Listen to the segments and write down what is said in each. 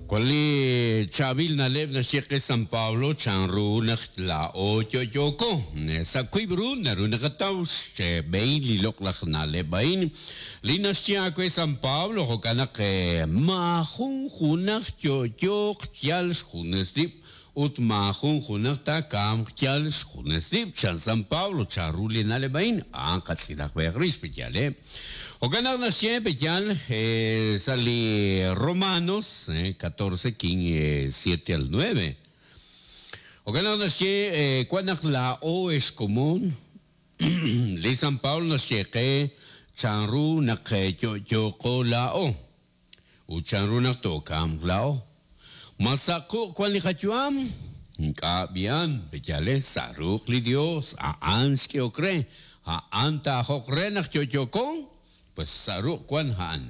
Wan li chaab'il na'leb' naxye qe San Pablo chanru naq laa'o yo'yooko. Sa' wiib' ru naru naqataw xb'ehil li loq'laj na'leb' a'in li naxye aawe San Pablo, jo'kan naq maajun junaq yo'yooq yal xjunes rib' ut maajun junaq taakamq yal xjunes rib', chan San Pablo, chanru li na'leb' a'in, a'an qatz'ilaq b'ayaq rix, pe'yaal, eh? Jo'kan naq naxye, pe'yaal, sa' li Romanos 14, 7 al 9. Jo'kan naq naxye, wan naq laa'o ex komon, li San Pablo naxye qe chanru naq yo'yooqo laa'o. Ut chanru naq tookamq laa'o? Ma sa' quq' wank li qayu'am? Ink'a' b'i'an, pe'yaal sa' ruq' li Yos, a'an xk'ehok re, a'an taa'ajoq re naq yo'yooko, pues sa' ruq' wank a'an.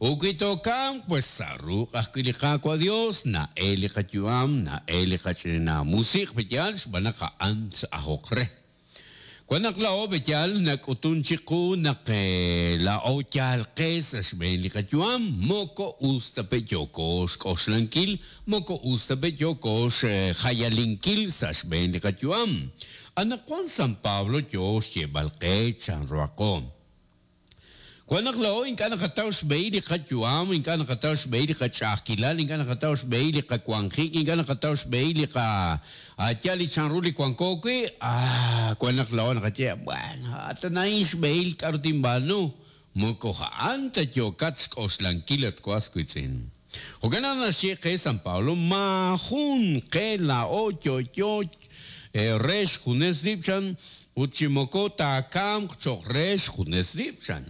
Ut wi tookamq, pues sa' ruq' ajwi' li Qaawa' Yos na'el li qayu'am, na'el li qach'ina musiq' pe'yaal xb'aan naq a'an t-ajoq re. Wan naq laa'o b'eyal nak'utun chiqu naq laa'o yaal qe sa' xb'een li qayu'am, moko us ta pe' yooko xk'oxlankil, moko us ta pe' yooko xjayalinkil sa' xb'een li qayu'am. Anaqwan San Pablo yoo xyeeb'al qe chanruhaqo. Wan naq laa'o ink'a' naqataw xb'ehil li qayu'am, ink'a' naqataw xb'ehil li qach'a'ajkilal, ink'a' naqataw xb'ehil li qawanjik, ink'a' naqataw xb'ehil li qa yal li chanru li wanko wi', ah, wan naq laa'o naqaye, bueno, atan a'in xb'ehil k'a'ru tinb'aanu, moko a'an ta yookat xk'oxlankil at was wiitz'in. Jo'kan naq naxye qe San Pablo, maajun qe laa'o yo'yo re xjunes rib' chan, ut chi moko taakamq cho'q re xjunes rib', chan.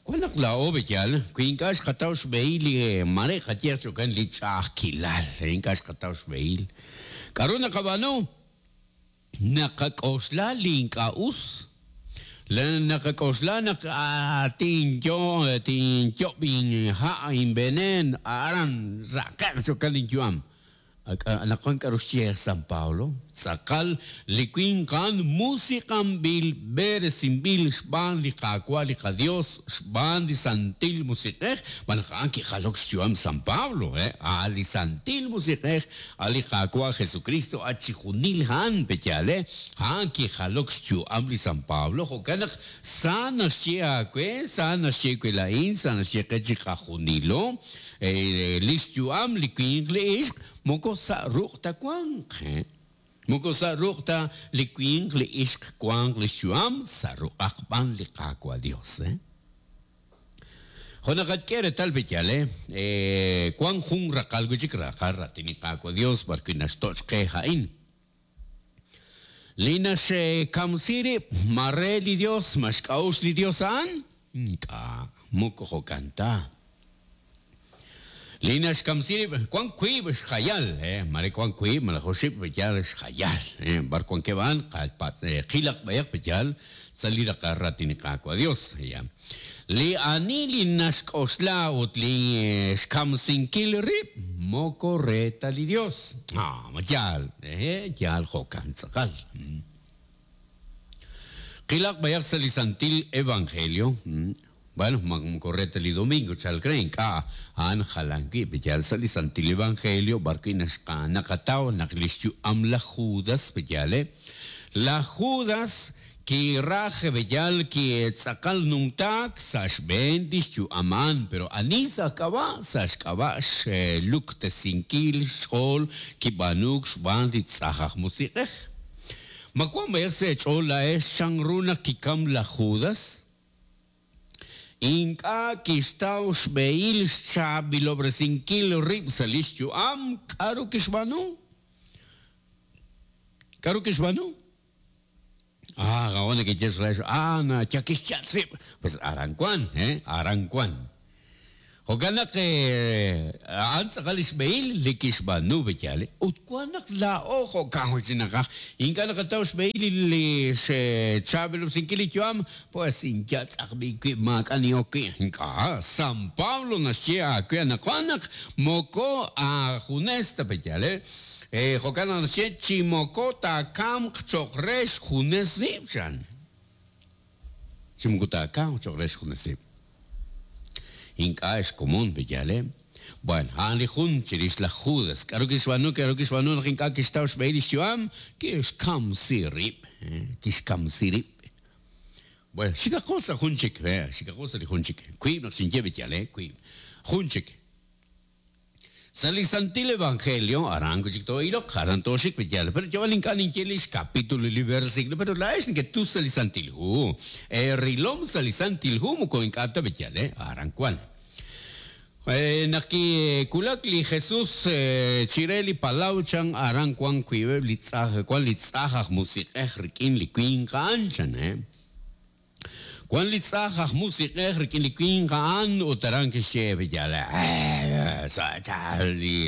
Wan naq laa'o b'eyal, wi ink'a' xqataw xb'ehil li mare qayehaq chi jo'kan li ch'a'ajkilal, ink'a' xqataw xb'ehil. K'a'ru naqab'aanu? Naqak'oxla li ink'a' us. Naqak'oxla naq tinyo tinyob' inha' inveneen aran raqe'q chi jo'kan linyu'am. Anaqwan k'aru xye San Pablo? Tz'aqal li winq a'an musiq'anb'il, b'eresinb'il xb'aan li Qaawa' li qaDios, xb'aan li Santil Musiq'ej, xb'aan naq a'an kijalok xyu'am San Pablo, a' li Santil Musiq'ej, a' li Qaawa' Jesukristo, a' chijunil a'an, pe'yaal, a'an kijalok xyu'am li San Pablo, jo'kan naq sa naxye aawe, sa naxye we laa'in, sa naxye qe chiqajunilo. Li xyu'am li winq li ixq moko sa' ruq' ta wanq. Moko sa' ruq' ta li winq li ixq wanq li xyu'am, sa' ruq'aq b'an li Qaawa' Dios. Jo' naqak'e reetal b'eyal, wank jun raqal wi' chik raqal raatin li Qaawa' Dios b'arwi' naxtoch' qe a'in. Li naxkamsi rib', ma re li Dios, ma xk'a'uxl li Dios a'an? Ink'a', moko jo'kan ta. Li naxkamsi rib', wan wiib' xjayal, maare wan wiib' malaj oxib' b'eyal xjayal, b'ar wankeb' a'an, qapatz', qilaq b'ayaq b'eyal sa' li raqal raatin li Qaawa' Dios. Li ani li naxk'oxla ut li xkamsinkil rib' moko re ta li Dios. Ah, ma yaal? Hehe', yaal jo'kan tz'aqal. Qilaq b'ayaq sa' li Santil Evangelio. Bueno, ma moko re ta li domingo chalk re, ink'a', a'an jalan wi'. Yaal sa' li Santil Evangelio b'ar wi' naxqa naqataw naq lix yu'am laj Judas, yaal, laj Judas Kiraj b'eyal kitz'aqal numtaak sa' xb'een li xyu'am a'an, pero ani sa' k'ab'a'? Sa' xk'ab'a' xluktesinkil xch'ool kib'aanuuk xb'aan li tz'aj aj musiq'ej. Ma wank b'ayaq sa' eech'ool laa'ex chanru naq kikam laj Judas? Ink'a' kixtaw xb'ehil xchaab'ilob'resinkil rib' sa' li xyu'am, k'aru kixb'aanu? K'aru kixb'aanu? Ah, gawon nekeye xrex, ah, na yakixyatz rib'. Pues aran wan, eh, aran wan. Jo'kan naq a'an tz'aqal li xb'ehil li kixb'aanu b'eyal. Ut wan naq laa'o jo'kan wi' chi naqaj, ink'a' naqataw xb'ehil li xchaab'ilob'resinkil li yu'am, pues inyatz'aq b'i' wib' maak'a' nin'ok wi'. Ink'a', San Pablo naxye aawe anaqwan naq Moko aajunes ta b'eyal, eh? Jo'kan naq naxye, chi moko taakamq cho'q re xjunes rib', chan. Chi moko taakamq cho'q re xjunes rib'. Ink'a' xkomon b'eyal, eh? Bueno, a'an li jun chirix laj Judas. K'aru kixb'aanu? K'aru kixb'aanu naq ink'a' kixtaw xb'ehil li xyu'am? Kixkamsi rib'. Kixkamsi rib'. Bueno, xikaqo sa' jun chik. Xikaqo sa' li jun chik. Wiib' naq xinye b'iyal, wiib'. Jun chik. Sa' li Santil Evangelio, aran wi' chik too'iloq, aran tooxik b'iyal. Pero yab'al ink'a' ninye li xkapitulo li versículo, pero laa'ex neketus sa' li Santil Hu. Eerilom sa' li Santil Hu moko ink'a' ta b'iyal, aran wan. Naq kiwulak li Jesus chire li palaw chan aran wan wiib'eb' li tz'aj wan li tz'aj aj musiq'ej rik'in li winq a'an chan. Wan li tz'aj aj musiq'ej rik'in li winq a'an ut aran kixye b'iyal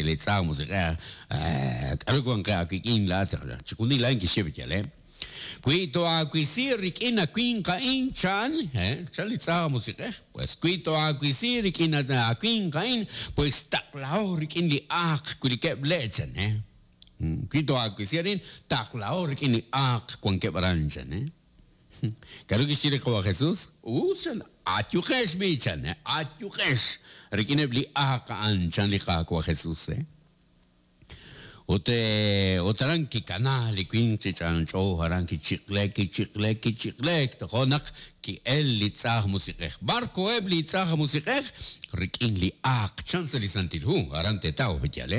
li tz'aj musiq'ej k'aru wank qe aawik'in laa'at chixjunil a'in kixye b'iyal. Wi toaawisi rik'in a winq a'in, chan, chan li tz'aj aj musiq'ej, pues wi toaawisi rik'in a winq a'in, pues taqlaho rik'in li aaq wilikeb' le', chan, Wi toaawisi arin, taqlaho rik'in li aaq wankeb' aran, chan, K'aru kixye li Qawa' Jesús? Us, chan, ayuqex b'i', chan, ayuqex rik'ineb' li aaq a'an, chan li Qaawa' Jesús. Ut, ut aran kikana li winq chi ch'anch'o, aran kichiq'lek, kichiq'lek, kichiq'lek, tojo' naq ki'el li tz'aj musiq'ej. B'ar koheb' li tz'aj musiq'ej? Rik'in li aaq, chan sa' li Santil Hu, aran teetaw, yal,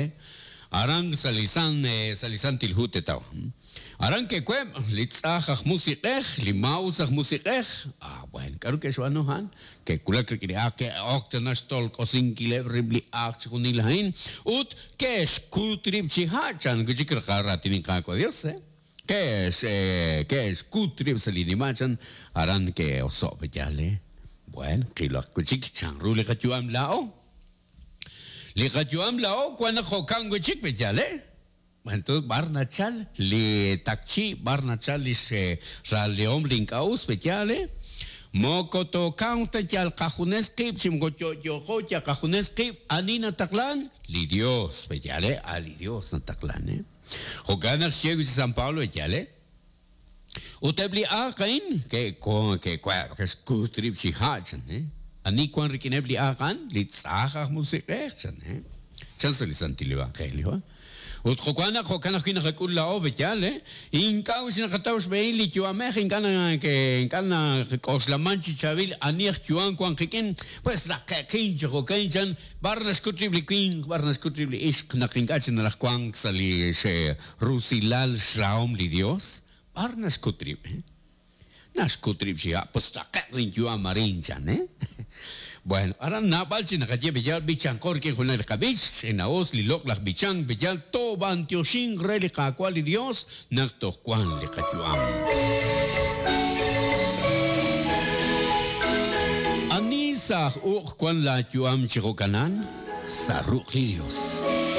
aran sa' li san, sa' li Santil Hu teetaw. Aran ke'web' li tz'aj aj musiq'ej, li maa'us aj musiq'ej. Ah, bueno, k'aru ke'xb'aanu a'an? Ke'wulak rik'in li aaq, ke'ok tana xtolk'osinkileb' rib' li aaq chixjunil a'in, ut ke'xkut rib' chi ha', chan wi' chik raatin li Qaawa' Dios, eh? Ke'x, ke'xkut rib' sa' li nima' chan, aran ke'oso' yal, eh? Bueno, qilaq wi' chik chanru li qayu'am laa'o. Li qayu'am laa'o wan naq jo'kan wi' chik, yal, eh? Entonces b'ar nachal li takchi', b'ar nachal li xraalehom li ink'a' us, pe'yaal, eh? Moko tookamq ta yal qajunes qib' chi moko yo'yooqo yal qajunes qib', ani nataqlan? Li Dios, pe'yaal, eh? A' li Dios nataqlan, eh? Jo'kan naq xye wi' chi San Pablo, pe'yaal, eh? Ut eb' li aaq a'in ke'we' ke'xkut rib' chi ha' chan, eh? Ani wank rik'ineb' li aaq a'an? Li tz'aj aj musiq'ej, chan, eh? Chan sa' li Santil Evangelio, eh? Ut jo'kan naq jo'kan ajwi' naqak'ul laa'o, pe'yaal, eh? Ink'a' wix naqataw xb'ehil li yu'amej, ink'a' ink'a' nak'oxlaman chi chaab'il ani aj yu'am wank qik'in, pues raqe'qin chi jo'kan, chan, b'ar naxkut rib' li winq, b'ar naxkut rib' li ixq naq ink'a' chik naraj wank sa' li rusilal xrahom li Dios, b'ar naxkut rib', eh? Naxkut rib' chi ha', pues raqe'q linyu'am arin, chan, eh? Bueno, aran naab'al chi naqaye b'iyal b'ichanqo rik'in junaq li qab'ich, ch'ina'us li loq'laj b'ichank b'iyal toob'antioxinq re li Qaawa' li Dios naq toj wank li qayu'am. Ani sa' aj uq' wank laayu'am chi jo'kanan? Sa' ruq' li Dios.